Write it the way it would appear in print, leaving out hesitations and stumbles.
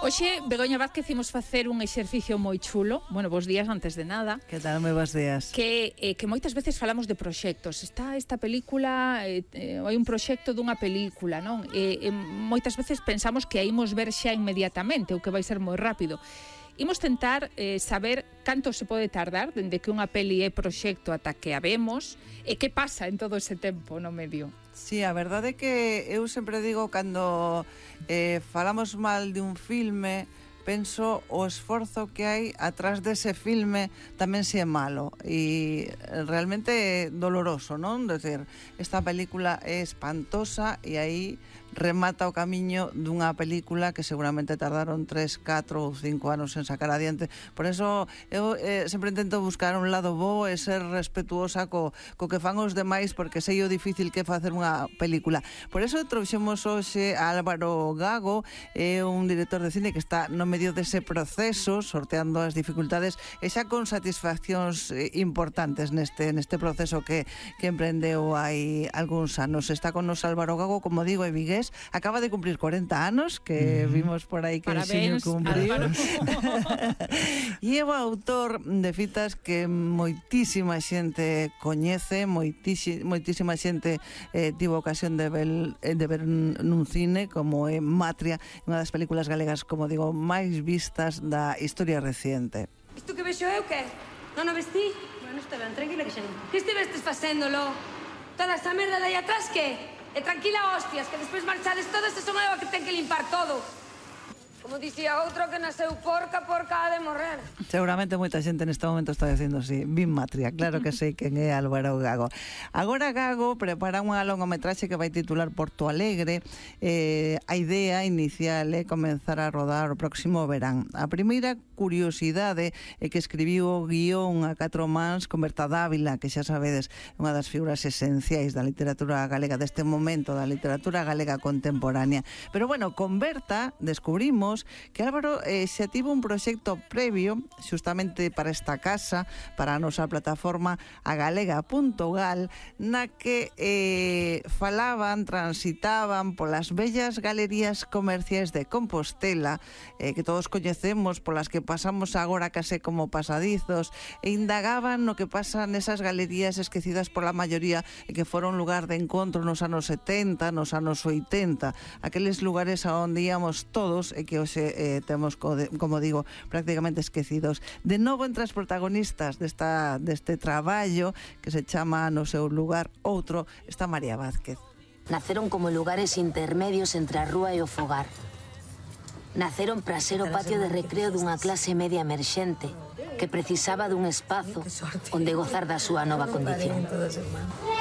Hoxe, Begoña Vázquez, imos facer un exercicio moi chulo. Bueno, bons días antes de nada. Que tal, moi bons días. Que moitas veces falamos de proxectos. Está esta película, hai un proxecto dunha película, non? Moitas veces pensamos que a imos ver xa inmediatamente, ou que vai ser moi rápido. Imos tentar saber canto se pode tardar dende que unha peli é proxecto ata que a vemos e que pasa en todo ese tempo no medio. Sí, a verdade é que eu sempre digo cando falamos mal de un filme, penso o esforzo que hai atrás dese filme tamén se é malo e realmente é doloroso, non? Decir, esta película é espantosa e aí remata o camiño dunha película que seguramente tardaron 3, 4 ou 5 anos en sacar adiante. Por eso eu sempre intento buscar un lado bo e ser respetuosa co que fan os demais, porque sei o difícil que é facer unha película. Por eso trouxemos hoxe a Álvaro Gago, é un director de cine que está no medio dese proceso, sorteando as dificultades e xa con satisfaccións importantes neste proceso que emprendeu hai algúns anos. Está con nos Álvaro Gago, como digo, é vigués, acaba de cumplir 40 anos, que vimos por aí que parabéns, el cumpriu. E é o autor de fitas que moitísima xente coñece, moitísima xente tivo ocasión de ver nun cine, como é Matria, unha das películas galegas, como digo, máis vistas da historia reciente. Isto que vexo eu, que? Non o vestí? Bueno, está ben, tranquila que xa non. Que estivestes facéndolo? Toda esa merda de aí atrás, que? E tranquila, hostias, que despois marchades todas e son eu a que ten que limpar todo. Como dicía outro que nasceu porca ha de morrer. Seguramente moita xente neste momento está dicindo así, Vin Matria, claro que sei quen é Álvaro Gago. Agora Gago prepara unha longometraxe que vai titular Porto Alegre. A idea inicial é comenzar a rodar o próximo verán. A primeira curiosidade é que escribiu o guión a 4 mans con Berta Dávila, que xa sabedes, unha das figuras esenciais da literatura galega deste momento, da literatura galega contemporánea. Pero bueno, con Berta descubrimos que Álvaro xa tivo un proxecto previo xustamente para esta casa, para a nosa plataforma agalega.gal, na que transitaban polas bellas galerías comerciais de Compostela, que todos coñecemos, polas que pasamos agora case como pasadizos, e indagaban no que pasa nesas galerías esquecidas pola maioría e que foron lugar de encontro nos anos 70, nos anos 80, aqueles lugares a onde íamos todos e que hoxe temos, como digo, prácticamente esquecidos. De novo entre as protagonistas deste traballo que se chama No seu lugar outro, está María Vázquez. Naceron como lugares intermedios entre a rúa e o fogar. Naceron para ser o patio de recreo dunha clase media emerxente que precisaba dun espazo onde gozar da súa nova condición.